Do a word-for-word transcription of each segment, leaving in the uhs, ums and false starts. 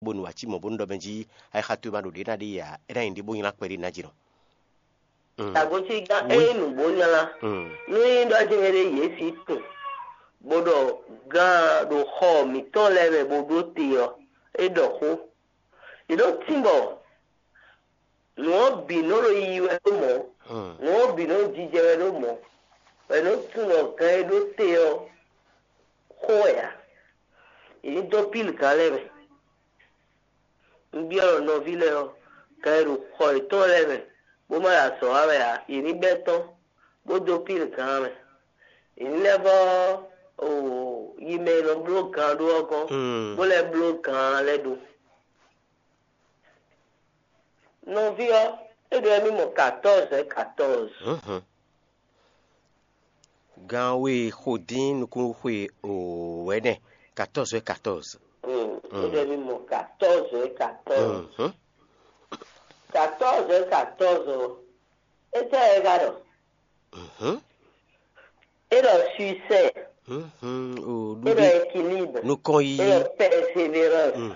bónú wǎ cí mɔ̌ bónú ɖɔ mɛ jí ayixa towe ma ɖo ɖě ná ɖe ǎ, é ná nyí ɖě bó nylá kpɛɖé ná jǐnɔ. Tagosígán, ényí nǔgbó nylá, nú nyí ɖɔ jɛ́n ɖé yě sí tunwun, bó ɖɔ gán ɖo xɔ mǐtɔn lɛ́ɛ mɛ bó ɖó te ɔ́, é ɖɔ xó. Yě ɖo tínbɔ nǔ ɔ́ bǐ nɔ ɖo yiyi wɛ ɖó mɔ̌, nǔ ɔ́ bǐ nɔ jijɛ wɛ ɖó mɔ̌, wɛ nɔ tunwun ɖɔ gán e ɖó te ɔ́ xó wɛ ǎ. Yě ní dó pílgán lɛ́ɛ mɛ. Un byɔ́ ɖɔ nɔví lɛ́ɛ ɔ́, gán e ɖo xɔ yětɔn lɛ́ɛ mɛ, bó ma ɖo azɔ̌ wa wɛ ǎ, yě ní bɛ́ tɔ́n, bó dó pílgán mɛ. Yě ní lɛ́ vɔ́ o yi mɛ e nɔ bló gán ɖó ɔ́ gɔ́n, bó lɛ́ bló gán lɛ́ɛ ɖó. Nɔví ɔ́, é ɖɔ mì mɔ katɔ́ɔzɛ katɔ́ɔzɛ. Gan we xo dín nukún xwe o wɛ̌nɛ, katɔ́ɔzɛ katɔ́ɔzɛ. Mm, é ɖɔ mì mɔ katɔ́ɔzɛ katɔ́ɔzɛ. Katɔ́ɔzɛ katɔ́ɔzɛ ɔ́, étɛ́ wɛ é ka ɖɔ? É ɖɔ suisɛ, é ɖɔ équilibre, nukɔn é yiyi. Ɖɔ persévérance.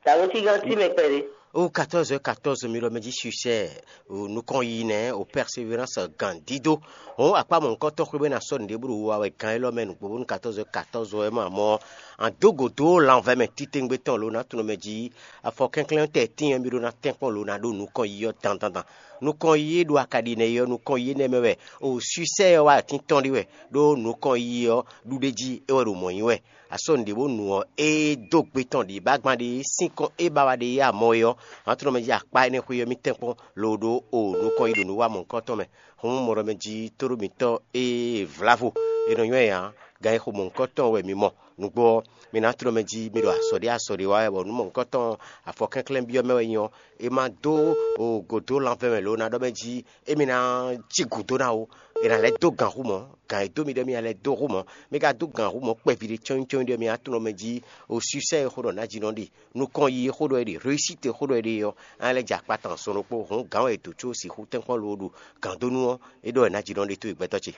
Tàbó tí gán tí mɛ kpɛɖé. O katɔ́ɔzɛ katɔ́ɔzɛ mi ɖɔ mɛ jí suisɛ, o nukɔn yiyi nɛ́, o persévérance gǎn dídó. Hɔn akpá mɔ̌hunkɔtɔn xwé bɔ é ná sɔ́ nǔɖé bó ɖo wa wɛ gán élɔ́ mɛ nǔgbó bónú katɔ́ɔzɛ katɔ́ɔzɛ wɛ ma mɔ. An dó gǒdó lanvɛ mɛ titewungbe tɔn lo ná tunɔ mɛ jí. Afɔ kɛnklɛ́n tɛ tín ɔ́ mi ɖó ná tɛ́nkpɔ́n lo ná ɖó nukɔn yiyi ɔ́ dandandan. Nukɔn yiyi e ɖo akaɖi nɛ́ yi ɔ́, nukɔn yiyi nɛ́ mɛ wɛ o suisɛ ɔ́ wá atín tɔn ɖi wɛ, ɖó nukɔn yiyi ɔ́ ɖuɖéjí é wɛ ɖo mɔ̌ nyi wɛ. Asɔ́ nǔɖé bó nu ɔ́, é dó gbe tɔn ɖě bá gban ɖé sín kɔn é ba wá ɖe yá mɔ é ɔ́, hɔn tlɔ́ mɛ jí akpá énɛ́ xwé ɔ́ mì tɛ́nkpɔ́n lobo ɖó o nukɔn yi ɖo nǔ wa mɔ̌hunkɔtɔn mɛ. Hɔn mɔ ɖɔ mɛ jí tóɖó mǐtɔn e vlávo è nɔ nywɛ́ ǎ, gan e xo mɔ̌hunkɔtɔn wɛ mi mɔ. Nǔgbó ɔ́, mi ná tlɔ́ mɛ jí mi ɖo azɔ̌ ɖé azɔ̌ ɖé wa wɛ, bɔ nǔ mɔ̌hunkɔtɔn afɔ kɛnklɛ́n byɔ́ mɛ wɛ nyí ɔ́, é má dó o gǒdó lanvɛ́ mɛ lo ná ɖɔ mɛ jí émí ná cí gǔdo ná ó. È nǎ lɛ́ dó gǎn hú mɔ̌, gǎn e dó mi ɖɔ émí ná lɛ́ dó hú mɔ̌. Mi ka dó gǎn hú mɔ̌ kpɛví ɖé cɔ́nyi cɔ́nyi ɖɔ mi ná tunɔ mɛ jí o suisɛ e xó ɖɔ ná jí nɔ ɖe, nukɔn yi e xó ɖɔ é ɖe, réussite e xó ɖɔ é ɖe ɔ́, á lɛ́ jɛ akpa tɔn sɔn ɖokpó hǔn gǎn wɛ è dǒ có sixú tɛ́nkpɔ́n lo ɖo gǎndónú ɔ́, é ɖɔ wɛ ná jí nɔ ɖe tó e gbɛtɔ́ ce.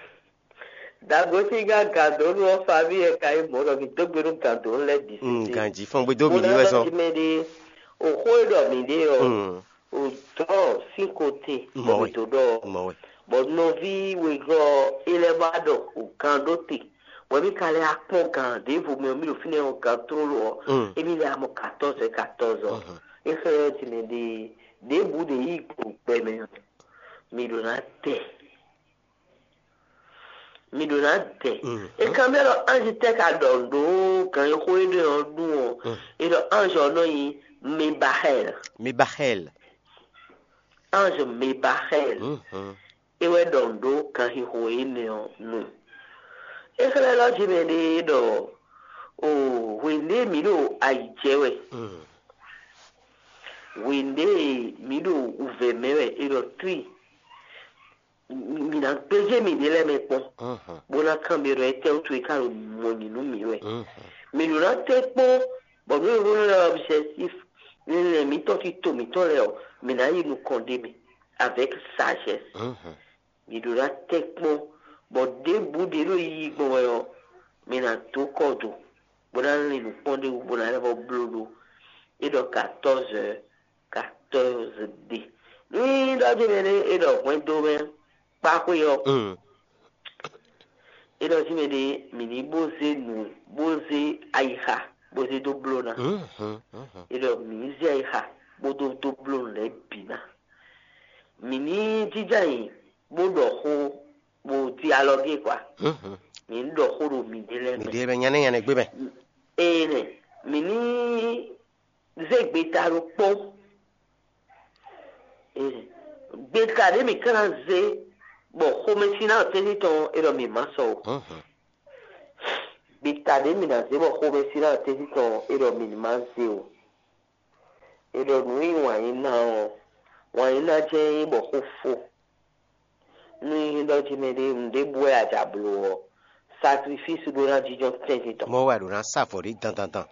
Dagosígá gǎndónú ɔ́, famille ɛ ka nyí mɔ̌ ɖɔ mi dó gbe nú gǎndónú lɛ́ɛ bǐ. Mm, sésé. Ganji fɔ́n gbé dó mi ní wɛ sɔn. Mɛ ɖé, o xó e ɖɔ mǐ ɖe ɔ́, o dɔn sín kote bɔ mǐ dó ɖɔ ɔ́. Mɔ̌ wɛ. Bɔ nɔví wegɔ́ ɔ́, é lɛ́ wá ɖɔ o gan ɖó te, bɔ mì ka lɛ́ akpɔ́n gan ɖěvo mɛ ɔ́, mì ɖo fínɛ́ ɔ́ gan tlóló ɔ́, émí lɛ́ amɔ katɔ́ɔzɛ katɔ́ɔzɔ. É xlɛ́ ɔ́ ji mɛ ɖe ɖěbǔ ɖě yí gbo gbɛ mɛ ɔ́, mì ɖo ná tɛ. Mi ɖo ná dɛ. É kan mɛ ɖɔ anji tɛ ka ɖɔ ɖo gan e xó e ɖe ɔ́ ɖu ɔ́. E ɖɔ anji ɔ́ nɔ nyi Mebahɛl. Mebahɛl. Anji Mebahɛl. É wɛ ɖɔ ɖo ganxixo énɛ́ ɔ́ nu. É xlɛ́ ɖɔ jí mɛ ɖé ɖɔ o hwěndé mǐ ɖo ayǐ jɛ wɛ. Hwěndé mǐ ɖo wǔvɛ́ mɛ wɛ. E ɖɔ tri. Mǐ ná gbéjé mǐɖée lɛ́ɛ mɛ kpɔ́n, bó ná kanbyɔ́ ɖɔ étɛ́wútu é ka ɖo mɔ nyi nú mǐ wɛ. Mǐ ɖó ná tɛ́ kpɔ́n, bɔ nú è hó nú ɔbjɛktíf linlɛn mǐtɔn tito mǐtɔn lɛ́ɛ ɔ́, mǐ ná yi nukɔn ɖ'é mɛ avec sagesse. Mǐ ɖó ná tɛ́ kpɔ́n, bɔ ɖěbǔ ɖě ɖo yiyi gbɔn wɛ ɔ́, mǐ ná dó kɔ do, bó ná lin nǔ kpɔ́n ɖ'é wú, bó ná lɛ́ vɔ́ bló ɖó. É ɖɔ quatorze heures, quatorze ɖe. Ní ɖɔ jí mɛ ɖé é ɖɔ hwɛndo mɛ kpáxwé ɔ́, é ɖɔ jí mɛ ɖé mǐ ní bó zé nǔ, bó zé ayixa, bó zé dó bló ná. É ɖɔ mǐ ní zé ayixa bó dó dó bló nǔ lɛ́ɛ bǐ ná. Mǐ ní jínjɔ́n ayǐ bó ɖɔ xó, bó dialɔgé kwa. Mǐ ní ɖɔ xó ɖo mǐɖée lɛ́ɛ mɛ. Mǐɖée mɛ nyánɛ́ nyánɛ́ gbé mɛ. Ee nɛ, mǐ ní zé gbeta ɖokpó. Gbeta ɖé mǐ ka ná zé bɔ xomɛsin ná tɛ́ntin tɔn é ɖɔ mǐ má sɔ o. Gbeta ɖé mǐ ná zé bɔ xomɛsin ná tɛ́ntin tɔn é ɖɔ mǐ ní má zé o. É ɖɔ nǔ e nyí wǎn yí ná ɔ́, wǎn yí ná jɛ́n nyí bɔ xó fó. Nú nyí ɖɔ jí mɛ ɖé nǔɖé bú wɛ a ja bló ɔ́, sakrifísi ɖó ná jínjɔ́n tɛ́ntin tɔn. Mɔ̌ wɛ a ɖǒ ná sa avɔ ɖé dandandan.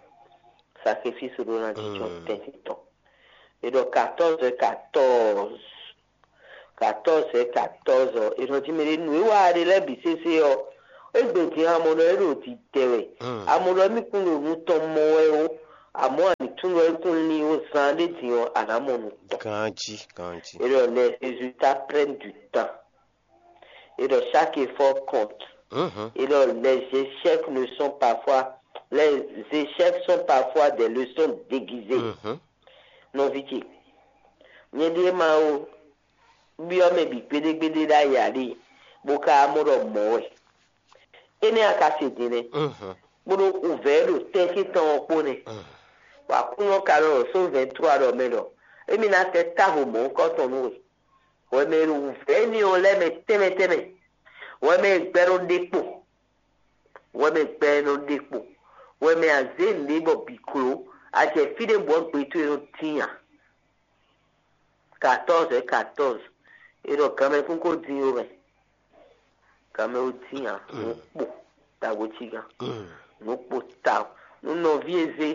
Sakrifísi ɖó ná jínjɔ́n tɛ́ntin tɔn. È ɖɔ katɔ́ɔ́zɔ katɔ́ɔ́zɔ, katɔ́ɔ́zɔ katɔ́ɔ́zɔ, è nɔ jí mɛ ɖé nǔ e wa ɖe lɛ́ɛ bǐ sésé ɔ́, égbé din amɔ ɖɔ é ɖo dǐdɛ wɛ, amɔ ɖɔ émí kún ɖo nu tɔn mɔ wɛ ó, Amɔ̌, a ní tunwun ɖɔ é kún lin ó zán ɖé din ɔ́, a nǎ mɔ nǔ tɔn. Ganjí, ganjí. Et donc, les résultats prennent du temps. Et donc, chaque effort compte. Mhm. Et donc, les échecs ne sont parfois, les échecs sont parfois des leçons déguisées. Mhm. Nɔví ce, nyɛ ɖíe ma ó, byɔ́ mɛ bǐ gbéɖégbéɖé ɖ'ayǐ ǎ ɖe, bó ka mɔ ɖɔ mɔ̌ wɛ. Énɛ́ a ka se din nɛ́, bó ɖó wǔvɛ́ ɖo tɛ́ntin tɔn ɔ́ kpó nɛ́, bɔ Aklúnɔ ka ɖɔ ɖo só vɛ̌ntrua ɖɔ mɛ ɖɔ émí ná tɛ́ távo mɔ̌hunkɔtɔn nú we. Hwɛ mɛ e ɖo wǔvɛ́ énɛ́ ɔ́ lɛ́ɛ mɛ tɛnmɛ tɛnmɛ, hwɛ mɛ e gbɛ nɔ ɖe kpo, hwɛ mɛ e gbɛ nɔ ɖe kpo, hwɛ mɛ e a zě nǔɖé bɔ bǐ kló, a jɛ fí ɖé bɔ gbe towe nɔ tín ǎ. Quatorze é quatorze. É ɖɔ ganmɛ kún ko dín ó mɛ. Ganmɛ ó dín ǎ. Nǔ kpo tawo cí gán. Nǔ kpo ta. Nú nɔví e zé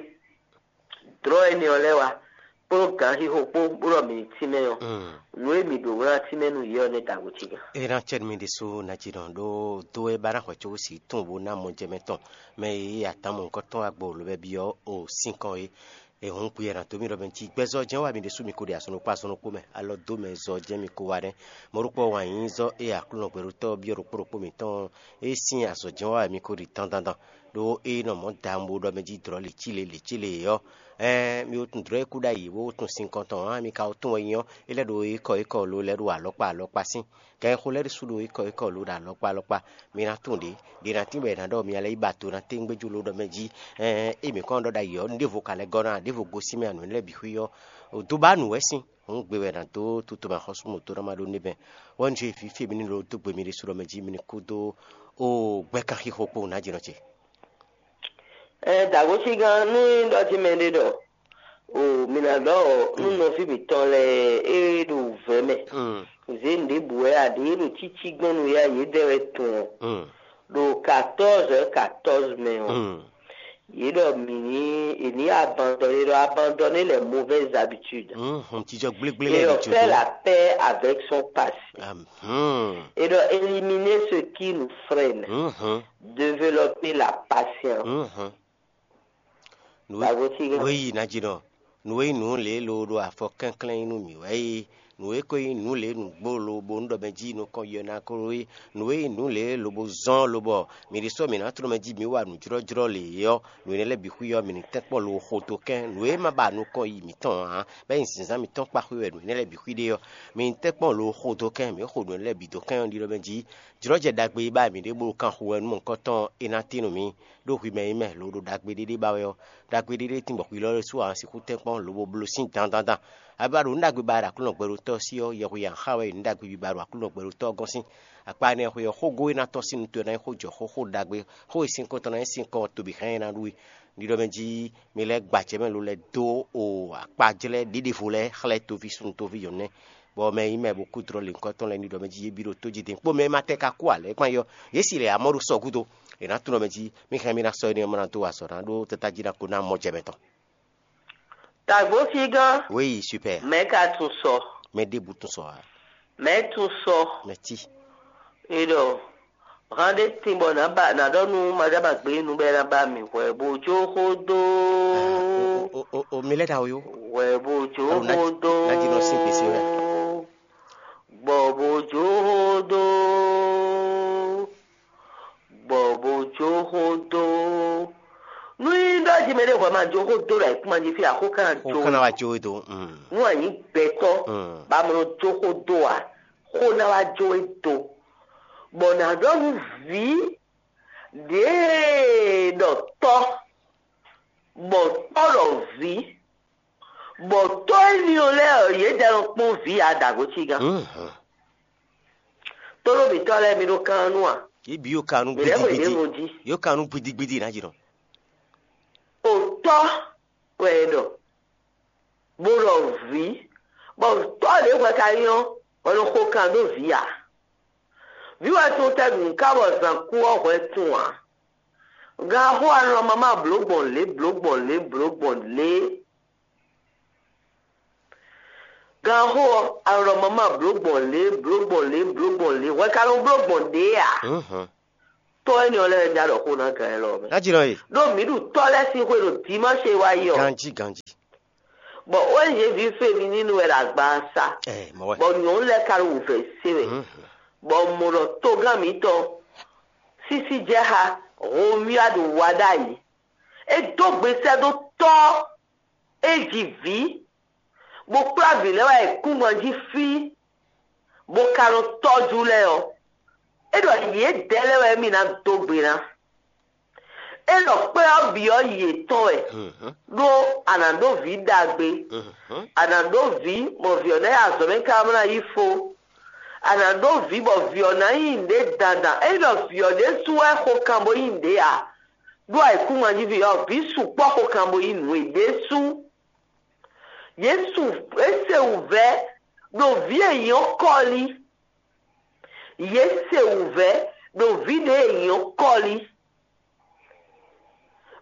dlɔ́ énɛ́ ɔ́ lɛ́ɛ wá kpódó gǎnxixo kpó bó ɖɔ mǐ ní tínmɛ ɔ́, nǔ e mǐ ɖǒ ná tínmɛ nú yě ɔ́ nɛ́ tawo cí gán. É ná cɛ́ nú mì ɖésú ná cí nɔ ɖó dó wɛ ba ná hwɛ có sí tún bó ná mɔ jɛ mɛ tɔn mɛ e yí atán mɔ̌hunkɔtɔn agbo lǒ bɛ́ byɔ́ o sín kɔn é. È hɔn gbe ɛ nǎ dó mì ɖɔ mɛ jí gbɛzɔ́ jɛ́n wɛ mi ɖésú mi ko ɖe azɔn ɖokpó azɔn ɖokpó mɛ, alɔ dó mɛ zɔ jɛ́n mi ko wa nɛ́. Mɔ̌ ɖokpó ɔ́ wǎn nyí zɔ́ e Aklúnɔ gbɛɖótɔ́ byɔ́ ɖokpó ɖokpó mǐtɔn e sín azɔ̌ jɛ́n wɛ mi ko ɖi dandan dan, ɖó é nɔ mɔ̌ da bo ɖɔ mɛ jí dlɔ̌ lě cí lě lě cí lě ɔ́, ɛɛn mi wo tunwun dlɔ̌ e kú ɖ'ayǐ bó tunwun sinkɔn tɔn ǎ, mi ka wo tunwun wɛ nyí ɔ́, é lɛ́ ɖo ékɔ ékɔ lo lɛ́ ɖo alɔkpa alɔkpa sín. Gǎn e xo lɛ́ ɖésú ɖo ékɔ ékɔ lo ɖo alɔkpa alɔkpa. Mi ná tunwun ɖě, ɖě ná tín bɔ è nǎ ɖɔ mi lɛ́ yi ba to ná téŋgbéjú lo ɖɔ mɛ jí, ɛɛn é mǐ kɔn ɖɔ ɖ'ayǐ ɔ́, un ɖěvo ka lɛ́ gɔ́ ná, ɖěvo gosín mɛ anǔ lɛ́ɛ bǐ xwí ɔ́, dó ba nǔ wɛ sín. Hǔn gbe wɛ è nǎ dó tutomɛ axɔ́sú mɔ̌ dó ná ma ɖó nɛ́ bɛn. Wɛ un jɛ vǐ fí e mi ní ɖo dó gbe mi ɖésú ɖɔ mɛ jí mi ní kú dó ó gbɛ́ kanxixo kpó nǎjínɔ ce. Ɛ dǎgosígán, nú ɖɔ jí mɛ ɖé ɖɔ o mi ná ɖɔ ɔ, nú nɔví mǐtɔn lɛ́ɛ e ɖo vɛ̌ mɛ zě nǔɖébǔ wɛ aɖě ɖo cící gbɔn nú ya yědɛɛ wɛ tun ɔ, ɖo quatorze heures quatorze mɛ ɔ, yě ɖɔ mǐ ní è ní abandonné, ɖɔ abandonner les mauvaises habitudes. Hɔn jijɔ gblégblé et lɛ́ɛ on fait la paix avec son passé. Et donc éliminer ce qui nous freine, développer la patience. Wěyi ná jí nɔ. Nǔ e nyí nǔ lě e lo ɖo afɔ kɛnklɛ́n nyi nú mǐ wɛ é. Nǔ e ko nyí nǔ lě nǔgbó lobo nú ɖɔ mɛ jí nukɔn yɔ ná ko é. Nǔ e nyí nǔ lě lobo zɔ́n lobɔ mǐ ɖésú mǐ ná tló mɛ jí mǐ wa nǔjlɔ́jlɔ́ lě é ɔ́, nǔ énɛ́ lɛ́ɛ bǐ xwí ɔ́, mǐ ní tɛ́nkpɔ́n lo xo dó kɛ́n. Nǔ e ma ba nukɔn yi mǐtɔn ǎ, bɔ é nyí zǐnzán mǐtɔn kpá xwé wɛ nǔ énɛ́ lɛ́ɛ bǐ xwí ɖe ɔ́, mǐ ní tɛ́nkpɔ́n lo xo dó kɛ́n, mǐ xo nǔ énɛ́ lɛ́ɛ bǐ dó kɛ́n ɔ́ ɖi ɖɔ mɛ jí jlɔ́jɛ ɖagbe e ba mǐ ɖe bó ɖo kan xo wɛ nú mɔ̌hunkɔtɔn ɔ́, é ná tín nú mǐ. Ɖó hwi mɛ e nyí mɛ lo ɖo ɖagbe ɖé ɖé ba wɛ ɔ́, ɖagbe ɖé ɖé tín bɔ hwi lɔ ɖésú ǎ sixú tɛ́nkpɔ́n lobo bló sín dandandan. A ba ɖo nǔ ɖagbe ba ɖo Aklúnɔ gbɛɖotɔ́ ɔ́ sí ɔ́, yɛhweyi ǎ xa wɛ nyí nǔ ɖagbe ba ɖo Aklúnɔ gbɛɖotɔ́ ɔ́ gɔ́n sín. Akpa énɛ́ ɔ́ xwé ɔ́, xógó e ná tɔ́n sín nu towe ná nyí xó jɔ xó xó ɖagbe, xó e sín kɔn tɔn ná nyí sín kɔn tobi hɛn e ná ɖu é. Ɖiɖɔ mɛ jí mi lɛ́ gba acɛ mɛ lo lɛ́ dó o akpajlɛ́ ɖěɖevo lɛ́ɛ xlɛ́ toví súnnu toví nyɔ̌nu nɛ́, bɔ mɛ e nyí mɛ bo kú dlɔ́ lěhunkɔtɔn lɛ́ɛ ní ɖɔ mɛ jí yě bǐ ɖo tójí din kpó mɛ e ma tɛ ka kú ǎ lɛ́ɛ kpán yɔ, yě si lɛ amɔ̌ ɖo sɔ́ gúdo. È nǎ tunɔ mɛ jí, mì hɛn mi ná sɔ́ énɛ́ ɔ́ mɔ ná dó wa azɔ̌ ná ɖó tata jí ná ko ná mɔ jɛ mɛ tɔn. Tagbo fígán. Oui, super. Mɛ ka tún sɔ. Mɛ ɖěbǔ tún sɔ ǎ. Mɛ tún sɔ. Mɛ tí. E ɖɔ hán ɖé tin bɔ nǎ ba nǎ ɖɔ nú maɖábagbe nu bɔ é ná ba mì hwɛ bó jó xó dó. O, o, o, o, mi lɛ́ ɖa o yó. Hwɛ bó jó Alo, ná- xó dó. Ná jí nɔ sín gbèsè wɛ. Gbɔ bó jó xó dó. Gbɔ bó jó xó dó. Nú yí ɖɔ jí mɛ ɖé hwɛ ma jó xó dó ɖo ayǐkúngban jí fí axó kan Xó jó. Kan ná wá jó we dó. Mm. Nú anyi gbɛtɔ Mm. ba mɔ jó xó dó a, xó ná wá jó we dó. Bɔ nǎ ɖɔ nú vǐ ɖěe ɖɔ tɔ́, bɔ tɔ́ ɖɔ vǐ, bɔ tɔ́ énɛ́ ɔ́ lɛ́ɛ ɔ́, yě jɛ nɔ kpɔ́n vǐ ǎ ɖago cí gán. Mhm. Tónú mǐtɔn lɛ́ɛ mi ɖó kán nú a? Yě bǐ yó ka nú Mǐ lɛ́ xweyǐɖé gbidigbidi. Vo jí. Yó ka nú gbidigbidi ná jǐ nɔ. Òtɔ́ wɛ è ɖɔ, bó ɖɔ vǐ, bɔ tɔ́ ɖě hwɛ ka nyɔ́, bɔ nɔ xo kan dó vǐ ǎ. Vǐ wɛ tún tɛ́ ɖu nǔ ká bɔ zǎn kú ɔ́ hwɛ tún ǎ. Gan xó anɔ mama blǒ gbɔn lě, blǒ gbɔn lě, blǒ gbɔn lě. Gan xó ɔ́, anɔ mama blǒ gbɔn lě, blǒ gbɔn lě, blǒ gbɔn lě. Hwɛ ka nɔ bló gbɔn ɖě ǎ. Mhm. Tɔ́ énɛ́ ɔ́ lɛ́ɛ wɛ já ɖɔ xó ná gǎn élɔ́ mɛ. Ná jí nɔ e. Ɖó mǐ ɖu tɔ́ lɛ́ɛ sín xwé ɖo dimanche wá yi ɔ́, Ganjí ganjí. Bɔ O N G ví Femi ní nu wɛ ɖo agba sa, Ɛ mɔ wɛ. Bɔ nyɔ̌nu lɛ́ɛ ka ɖo wǔvɛ́ se wɛ. Mhm. Bɔ mɔ ɖɔ togán mǐtɔn sísí jɛ xá Romuald wá ɖ'ayǐ. É dó gbe sɛ́ dó tɔ́ é ji vǐ, bó kplá vǐ lɛ́ɛ wá yi kúngban jí fí, bó ka nɔ tɔ́jú lɛ́ɛ ɔ́, é ɖɔ yědɛɛ lɛ́ɛ wɛ émí ná dó gbe ná. É ɖɔ kpɛ́ ɔ́ bǐ ɔ́ yi yětɔn wɛ, Mhm. ɖó a nǎ ɖó vǐ ɖagbe, Mhm. a nǎ ɖó vǐ, bɔ vǐ ɔ́ ná yi azɔ̌ mɛ káká bó ná yí fó. A nǎ ɖó vǐ bɔ vǐ ɔ́ ná nyí nǔɖé dandan. É ɖɔ vǐ ɔ́ ɖésú wɛ xo kan bó nyí nǔɖé ǎ. Ɖó ayǐkúngban jí vǐ ɔ́, vǐ sukpɔ́ xo kan bó nyí nǔ e ɖésú. Yě su é se wǔvɛ́ ɖo vǐ e nyí ɔ́ kɔ́lí. Yě se wǔvɛ́ ɖo vǐ ɖě e nyí ɔ́ kɔ́lí.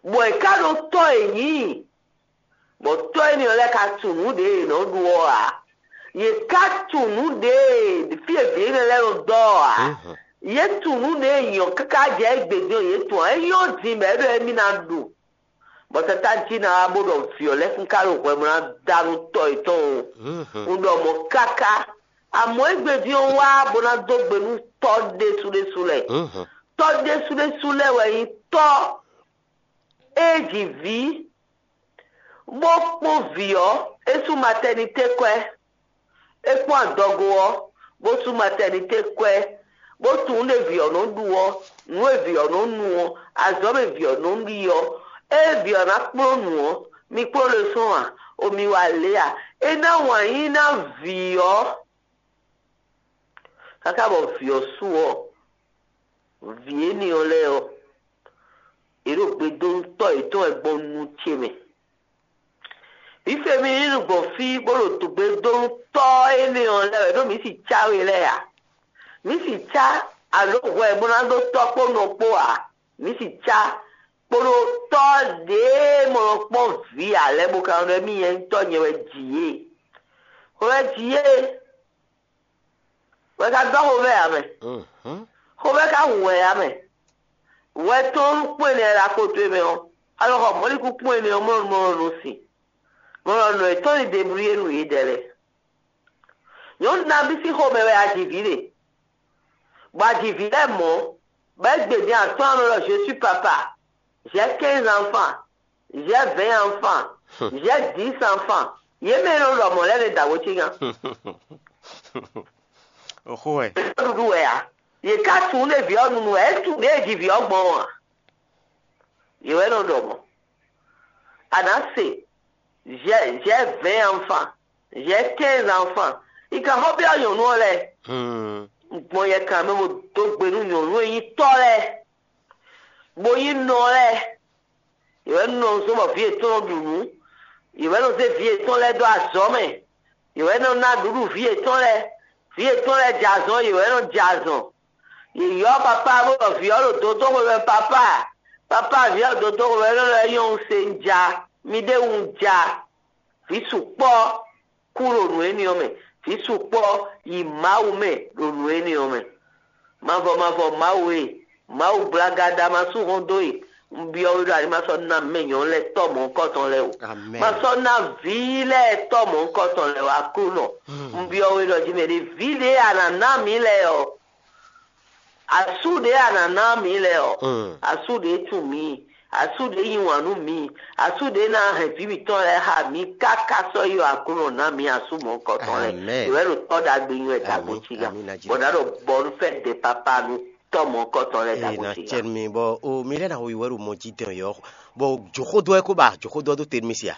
Bɔ è ká ɖó tɔ́ e nyǐ, bɔ tɔ́ énɛ́ ɔ́ lɛ́ɛ ka tunwun nǔ ɖě è nɔ ɖu ɔ́ ǎ. Yě ká tunwun nǔ ɖě e fí e vǐ énɛ́ lɛ́ɛ nɔ dɔ́ ɔ́ ǎ. Yě tunwun nǔ ɖě e nyǐ ɔ́ káká jɛ égbé din ɔ́, yě tunwun ǎ. É nyɔ́ din bɔ é ɖɔ émí ná ɖu. Bɔ tata jí ná wá bó ɖɔ vǐ ɔ́ lɛ́ɛ kún ká ɖo hwɛ bó ná da nú tɔ́ yětɔn o. Un ɖɔ mɔ̌ káká. Amɔ̌ égbé din ɔ́ wá bó ná dó gbe nú tɔ́ ɖésú ɖésú lɛ́ɛ. Tɔ́ ɖésú ɖésú lɛ́ɛ wɛ nyí tɔ́ e ji vǐ, bó kpɔ́n vǐ ɔ́, é sú matɛnité kwɛ́. É kpɔ́n adɔgo ɔ́, bó sú matɛnité kwɛ́, bó tunwun nú vǐ ɔ́ nɔ ɖu ɔ́, nǔ e vǐ ɔ́ nɔ nu ɔ́, azɔ̌ e vǐ ɔ́ nɔ ɖi ɔ́, ée vǐ ɔ́ ná kplɔ́n nǔ ɔ́, mi kplɔ́n ɖésú ǎ, o mi wa lě ǎ. É ná wǎn yí ná vǐ ɔ́, káká bɔ vǐ ɔ́ su ɔ́, vǐ énɛ́ ɔ́ lɛ́ɛ ɔ́, yě ɖo gbe dó nú tɔ́ yětɔn wɛ gbɔn nu ce mɛ. Vǐ Femi ní nu gbɔn fí bó ɖo dǒgbe dó nú tɔ́ énɛ́ ɔ́ lɛ́ɛ wɛ ɖó mǐ si cá we lɛ́ɛ ǎ. Mǐ si cá alo hwɛ bó ná ɖó tɔ́ kpó nɔ kpó ǎ. Mǐ si cá kpódó tɔ́ ɖěe mɔ nɔ kpɔ́n vǐ ǎ lɛ́ɛ bó ka nɔ ɖɔ émí nyɛ nyí tɔ́ nyɛ wɛ ji yě. Hwɛ wɛ ji yě wɛ ka dɔ́ xovɛ́ ǎ mɛ. Xovɛ́ ka hu wɛ ǎ mɛ. Wɛ tɔn nú kpɔ́n énɛ́ lɛ́ɛ ɖo akpo towe mɛ ɔ́, alɔ xɔ mɔ̌likún kpɔ́n énɛ́ ɔ́ mɔ nɔ mɔ nɔ sin. Mɔ nɔ nɔ yětɔn ní deblúyé nú yědɛɛ lɛ́ɛ. Nyɔ̌nu nabí sín xomɛ wɛ a ji vǐ ɖe. Bɔ a ji vǐ lɛ́ɛ mɔ̌, bɔ é gbe din atɔ́ɔ́n mɛ ɖɔ je suis papa, j'ai quinze enfants, j'ai vingt enfants, j'ai dix enfants. Yě mɛ e nɔ ɖɔ mɔ̌ lɛ́ɛ nɛ da wǒ cígan. Oxó wɛ. Ɖuɖu wɛ ǎ. Yě ká tunwun ɖé vǐ ɔ́ nunu wɛ, é tunwun ɖě e ji vǐ ɔ́ gbɔn ɔ́ ǎ. Yě wɛ nɔ ɖɔ mɔ̌. A nǎ se, j'ai j'ai vingt enfants, j'ai quinze enfants. Yi kan xɔ byɔ́ nyɔ̌nu ɔ́ lɛ́ɛ. Hmm. Gbɔn yɛ kan mɛ bó dó gbe nú nyɔ̌nu e nyí tɔ́ lɛ́ɛ, bó nyí nɔ lɛ́ɛ. Yě wɛ nɔ zɔ́n bɔ vǐ yětɔn nɔ ɖu nǔ. Yě wɛ nɔ zé vǐ yětɔn lɛ́ɛ dó azɔ̌ mɛ. Yě wɛ nɔ ná ɖuɖu vǐ yětɔn lɛ́ɛ. Vǐ yětɔn lɛ́ɛ jɛ azɔn, yě wɛ nɔ jɛ azɔn. Yě yɔ́ papá bó ɖɔ vǐ ɔ́ ɖo dǒdó xwe mɛ papá. Papá vǐ ɔ́ dǒdó xwe mɛ nɔ lɛ́ nyɔ́ un se un ja. Mi ɖé un ja. Vǐ sukpɔ́ kú ɖo nǔ énɛ́ ɔ́ mɛ. Vǐ sukpɔ́ yi Mawu mɛ ɖo nǔ énɛ́ ɔ́ mɛ. Mavɔ mavɔ Mawu e, Mawu gblaga ɖa ma sú hɔn dó e. Un byɔ́ we ɖɔ a ní ma sɔ́ ná mɛ nyɔ̌nu lɛ́ɛ tɔ́ mɔ̌hunkɔtɔn lɛ́ɛ o. Amen. Ma sɔ́ ná vǐ lɛ́ɛ tɔ́ mɔ̌hunkɔtɔn lɛ́ɛ o Aklúnɔ. Un byɔ́ we ɖɔ jí mɛ ɖé vǐ ɖě a nǎ ná mǐ lɛ́ɛ ɔ́, asú ɖě a nǎ ná mǐ lɛ́ɛ ɔ́, Mm. asú ɖě tunwun mǐ, asú ɖě yí wǎn nú mǐ, asú ɖě ná hɛn vǐ mǐtɔn lɛ́ɛ xá mǐ káká sɔ́ yi ɔ Aklúnɔ ná mǐ asú mɔ̌hunkɔtɔn lɛ́ɛ. Amen. Yě wɛ ɖo tɔ́ ɖagbe nyi wɛ dagbo Amin, cí gán. amin, Najeriya. Bɔ ná ɖɔ bɔnu fɛ de papa nú tɔ́ mɔ̌hunkɔtɔn lɛ́ɛ Ee, dagbo na cí tiɛ gán. mi bɔ o mi lɛ na wo yi wɛ ɖo mɔ ji dɛn yɔ bɔ jɔxɔdɔ yɛ ko ba jɔxɔdɔ do te mi sia.